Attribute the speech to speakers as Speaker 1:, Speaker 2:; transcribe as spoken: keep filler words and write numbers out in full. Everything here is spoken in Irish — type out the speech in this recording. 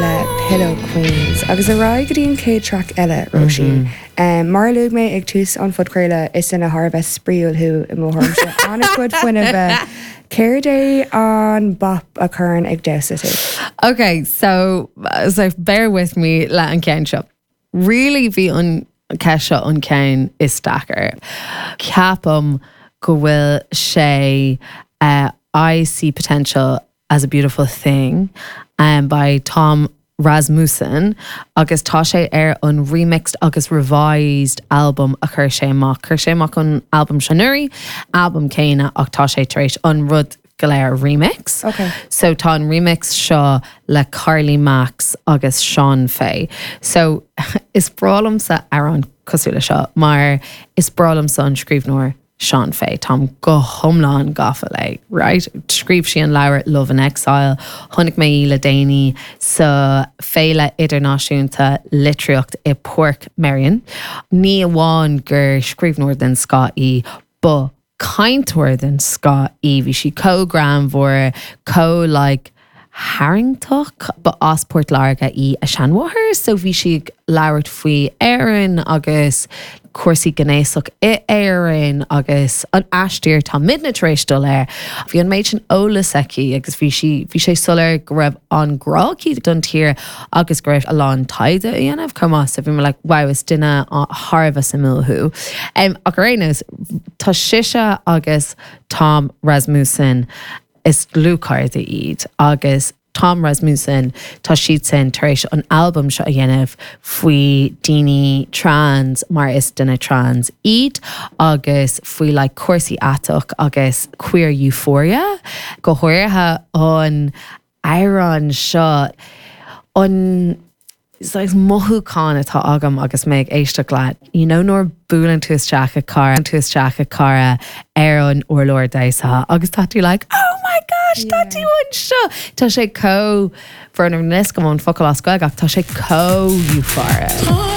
Speaker 1: le Pillow Queens agus ar aghaidh go dtí an chéad track eile Róisín. Mm -hmm. um, mar luaigh mé ag tús an phodchraoladh is duine thar a bheith spraíúil thú i mo thuairimse an-chuid fuinnimh Céard é an bop a chuireann ag damhsa tú?
Speaker 2: Okay, so so bear with me le an ceann seo. Really bhí an ceist seo an ceann is deacra. Ceapaim go bhfuil sé uh, I See Potential as a Beautiful Thing um, by Tom Rasmussen agus tá sé ar an remixed agus revised album a chuir sé amach chuir sé amach an album sin anuraidh album céanna ach tá sé tar éis an rud go léir remix.
Speaker 1: Okay.
Speaker 2: So tá an remix seo le Carly Max agus Sean Fay. So is breá liomsa amhrán cosúil le seo mar is breá liomsa an scríbhneoir Sean Fay Táim go hiomlán gafa léi, right? Scríobh sí an leabhar Love in Exile, chonaic mé í le déanaí sa Féile Idirnáisiúnta Litríocht i Portmeirion. Ní amháin gur scríbhneoir den scoth í ba cainteoir den scoth í bhí sí chomh greannmhar chomh like, tarraingteach ba as Port Láirge í a seanmháthair, so bhí sí ag labhairt faoi Éirinn agus cúrsaí gnéasach in Éirinn agus an aistear tá muidne tar éis dul air. Bhí an méid sin eolas aici agus bhí sí bhí sé soiléir go raibh an grá aici don tír agus go raibh a lán taighde á dhéanamh chomh so bhí like wow is duine thar a bheith suimiúil thú. Um, ach ar aon nós tá sise agus Tom Rasmussen is dlúthchairde iad agus Tom Rasmussen tá siad sin tar éis an album seo a dhéanamh faoi daoine trans mar is duine trans iad agus faoi like, cúrsaí aiteach agus queer euphoria go háirithe an amhrán seo an saghas mothúchán atá agam agus mé ag éisteacht leat. You know nuair buaileann tú isteach i cara tú isteach i cara ar an urlár damhsa agus tá tú like, oh my gosh, tá tú anseo. Tá sé chomh bhernus go an focal as Gaeilge ach tá sé chomh euphoric.